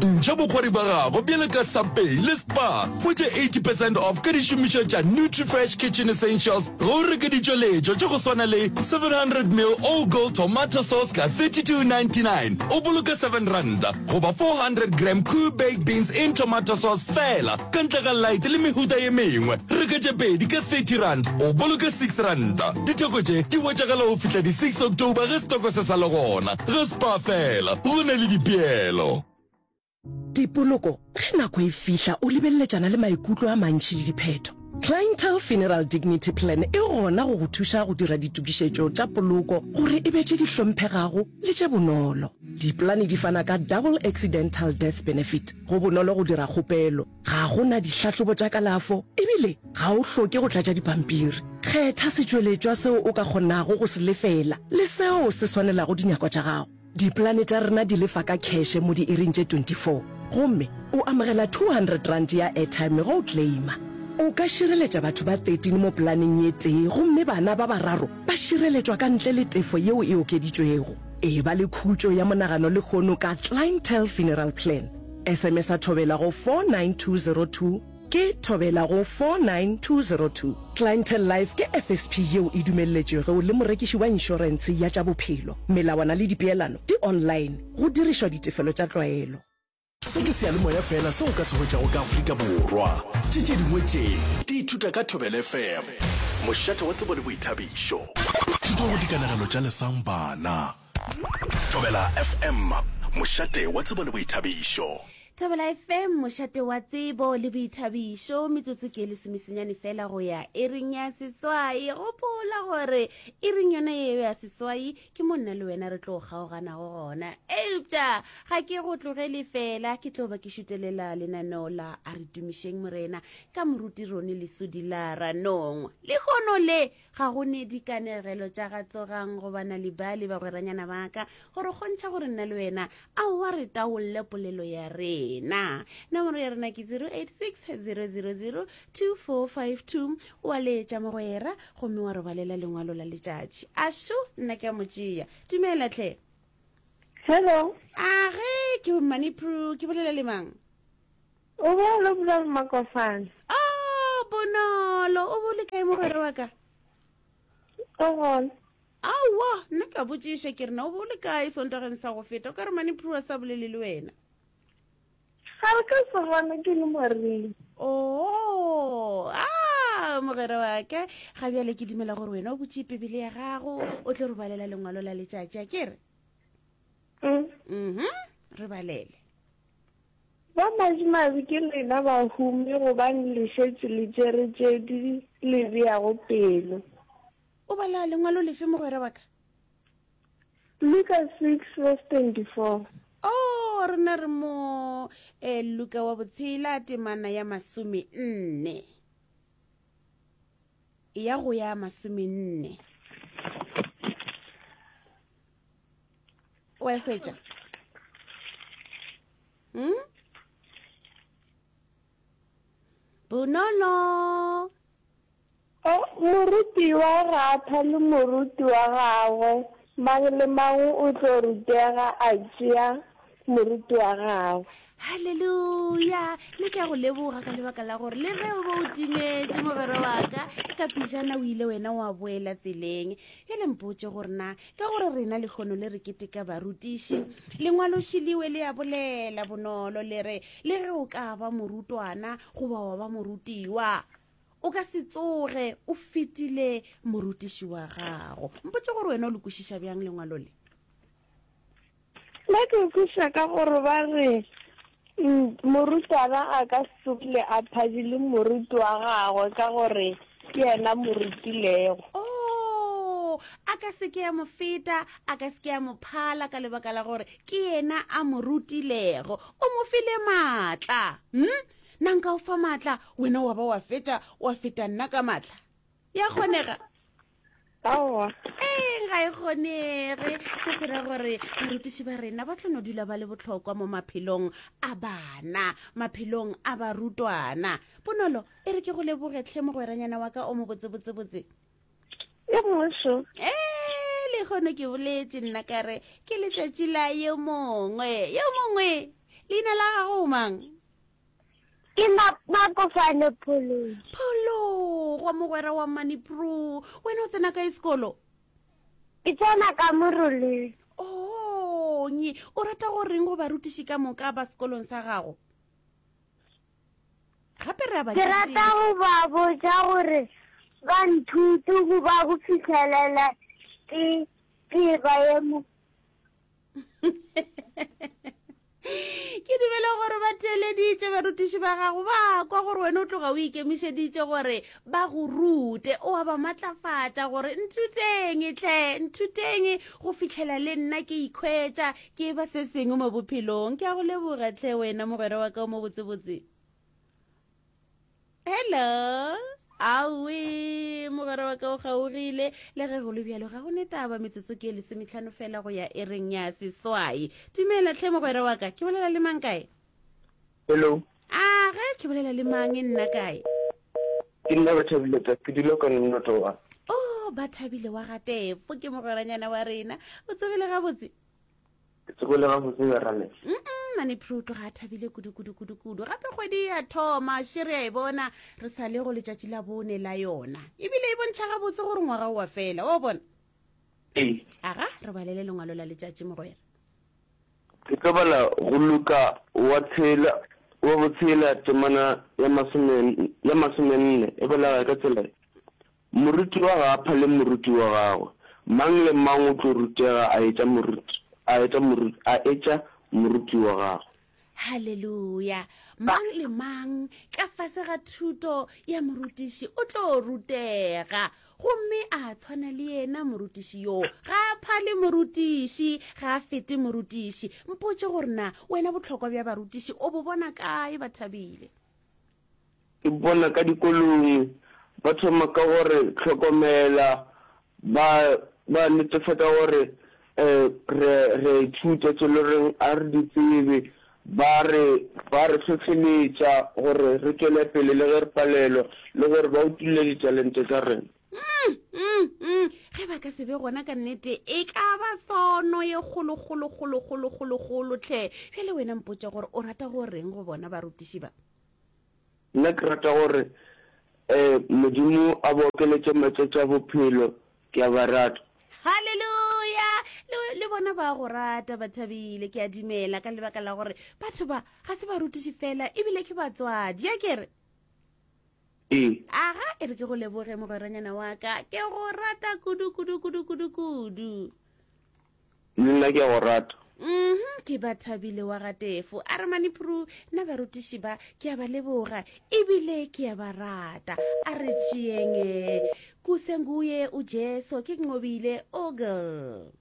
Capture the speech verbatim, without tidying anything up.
Ntšha bokgwari ba gago bjale ka Subway le Spar. Hwetša eighty percent off ka dišomišwa tša Nutrifresh Kitchen Essentials ge o reka ditšweletšwa tša go swana le seven hundred mil All Gold Tomato Sauce ka thirty two ninety nine, o boloka seven ranta, goba four hundred gram Koo Baked Beans in Tomato Sauce fela, ka ntle ga light le mehuta ye mengwe. Reka tše pedi ka thirty rand, o boloka six ranta. Ditheko tše di hwetšagala go fihla di six October ge setoko se sa le gona. Ga Spar fela, go na le dipeelo. Dipoloko, ge nako e fihla o lebeleletšana le maikutlo a mantši le diphetho. Clientele Funeral Dignity Plan e gona go go thuša go dira ditokišetšo tša poloko gore e be tše di hlomphegago le tše bonolo. Dipolane di fana ka Double Accidental Death Benefit, go bonolo go dira kgopelo, ga go na dihlahlobo tša kalafo ebile ga o hloke go tlatša dipampiri. Kgetha setšweletšwa seo o ka kgonago go se lefela le seo se swanelago dinyakwa tša gago. Dipolane tša rena di lefa ka kheše mo diiring tše twenty four gomme o amogela two hundred rand ya airtime ge o claima. O ka šireletša batho ba thirteen mo polaneng ye tee gomme bana ba bararo ba šireletšwa ka ntle le tefo yeo e okeditšwego. Eba le khutšo ya monagano lehono ka Clientele Funeral Plan. S M S-a Thobela go four nine two zero two. Ke Thobela go four nine two zero two. Clientele Life ke F S P yeo e dumelletšwego le morekiši wa inšorentshe ya tša bophelo. Melawana le dipeelano di online, go dirišwa ditefelo tša tlwaelo. Se ke seyalemoya fela seo o ka se hwetšago ka Afrika Borwa. Tše tše dingwe tše di ithuta ka Thobela F M. Mošate wa tsebo le boithabišo. Thuto go dikanegelo tša Lesang Bana. Thobela F M, mošate wa tsebo le boithabišo. Thobela F M, mošate wa tsebo le boithabišo. Metsotso ke lesomesenyane fela go ya iring ya seswai. Gopola gore iring yona yeo ya seswai ke mo nna le wena re tlo kgaoganago gona, eupša ga ke go tlogele fela, ke tlo ba ke šutelela lenaneo la A Re Tumišeng Morena ka moruti Rone Lesodi la Ranong. Lehono le ga go ne dikanegelo tša ga Tsogang goba Nalibali, bagweranyana ba ka, gore kgontšha gore nna le wena aowa re taolle polelo ya rena. Nomoro ya rena ke zero eight six zero zero zero two four five two. O a letša mogwera gomme wa robalela lengwalo la letšatši. Ašo, nna ke a mo tšea. Dumela tlhe. Hello. A ge ke Manipru, ke bolela le mang? O bolela o bolela le Makofane. Oh, bonolo, o bole kae mogwera wa ka? O gona. Aowa, nna ka botšiša ke re na o bole kae Sontageng sa go feta, o ka re Manipru a sa bolele le wena. Ga re ka se gona ke le moriri. Oh, ah, mogwera wa ka, ga bjale ke dumela gore wena o butše Bibele ya gago, o tlo re balela lengwalo la letšatši, a ke re? Mm. Mhm, re balele. Ba madimabe ke lena bahumi gobane le šetše le tšere tše di le beago pelo. O bala lengwalo lefe mogwera wa ka? Luka six verse twenty-four. Oh, rena re mo eh, Luka wa botshela temana ya masome nne. Ya go ya masome nne. Wa e hwetša? Hmm? Bonolo. O, morutiwa ga a phale moruti wa gagwe, mang le mang o tlo rutega a tšea moruti wa gagwe. Halleluja! Le ke a go leboga ka lebaka la gore le ge o be o timetše mogwera wa ka, ka pejana o ile wena wa boela tseleng. Bjale mpotše gore na ka gore rena lehono le re keteka barutiši, lengwalošiliwe le a bolela bonolo le re le ge o ka ba morutwana goba wa ba morutiwa, o ka se tsoge o fetile morutiši wa gago. Mpotše gore wena o le kwešiša bjang lengwalo le? Nna ke kwešiša ka gore ba re morutwana a ka se tsogile a phadile moruti wa gagwe ka gore ke yena morutilego. Oh, a ka se ke a mo feta, a ka se ke a mo phala ka lebaka la gore ke yena a mo rutilego. O mo file maatla. Hm? Nna nka o fa maatla, wena wa ba wa fetša wa feta nna ka maatla. Ya kgonega? Aowa. Ee, ga e kgonege. Se se ra gore barutiši ba rena ba tlo no dula ba le bohlokwa mo maphelong a bana, maphelong a barutwana. Bonolo, e re ke go leboge tlhe mogweranyana wa ka o mo botsebotsebotse. E mošo. Ee, lekgono ke boletše nna ka re ke letšatši la yo mongwe, yo mongwe Leina la gago o mang? Ke Makofane Phologi. Phologo, mogwera wa Manipro. Wena o tsena kae sekolo? Ke tsena ka Moroleng. Oh, nye, o rata go reng go barutiši ka moka ba sekolong sa gago? Gape re a ba Ke rata go ba botša gore ba nthute go ba go fihlelela ke ke ba ye mo. Ke dumela gore ba theeleditše barutiši ba gago, ba kwa gore wena o tloga o ikemišeditše gore ba go rute, o a ba matlafatša gore nthuteng tle, nthuteng go fihlela le nna ke ikhwetša ke ba se sengwe mo bophelong. Ke a go leboga tle wena mogwera wa ka o mo botsebotse. Hello. Awe, mogwera wa ka o kgaogile. Le ge go le bjalo, ga go ne taba, metsotso ke e lesometlhano fela go ya ereng ya seswai. Dumela tlhe mogwera wa ka, ke bolela le mang kae? Hello. A ge ke bolela le mang nna kae? Ke nna Bathabile ta, ke dula ka Nnotowa. Oh, Bathabile wa ga Tefo ke mogweranyana wa rena. O tsogile gabotse? Ke tsogile gabotse ya rale. Mm, mane Pro tloga a thabile kudu kudu kudu kudu. Gape kgwedi ya thoma, še re a e bona, re sa le go letšatši la bone la yona. Ebile e bontšha gabotse gore ngwaga o wa fela, wa bona? Ee. Aga, re balele lengwalo la letšatši mogwera. Ke tlo bala go Luka wa tshela, wa botshela temana ya masome, ya masomenne, e bolela ka tsela ye. Morutiwa ga a phale moruti wa gagwe. Mang le mang o tlo rutega a etša moruti, a etša moruti, a etša moruti wa gagwe. Haleluya! Mang le mang ka fase ga thuto ya morutiši o tlo rutega, gomme a tshwana le yena morutiši yoo. Ga a phale morutiši, ga a fete morutiši. Mpotše gore na wena bohlokwa bja barutiši o bo bona kae, Bathabile? Ke bona ka dikolong ba thoma ka gore hlokomela, ba, ba netefatša gore um re, re a ithuta tše le reng a re di tsebe, ba re, ba re hlohleletša gore re tšwele pele le ge re palelwa, le gore ba utolle ditalente tša rena. Mm, mm, mm. Ge ba ka se be gona ka nnete, e ka ba sono ye kgolo, kgolo, kgolo, kgolo, kgolo, kgolo tlhe. Bjale wena mpotše gore o rata go reng go bona barutiši ba? Nna ke rata gore um Modimo a ba okeletše matšatši a bophelo, ke a ba rata. Haleluya! Le, le bona ba go rata, ba thabile, ke a dumela, ka lebaka la gore batho ba ga se barutiši fela, ebile ke batswadi, a ke re? Ee. Aga, e re ke go leboge mogweranyana wa ka, ke go rata kudu, kudu, kudu, kudu, kudu. Le nna ke a go rata. Mhm, ke ba thabile wa ga Tefo. A re Manipuru, nna barutiši ba ke a ba leboga ebile ke a ba rata. A re tšeeng eh, kusenguye uJesu ke nqobile ogle.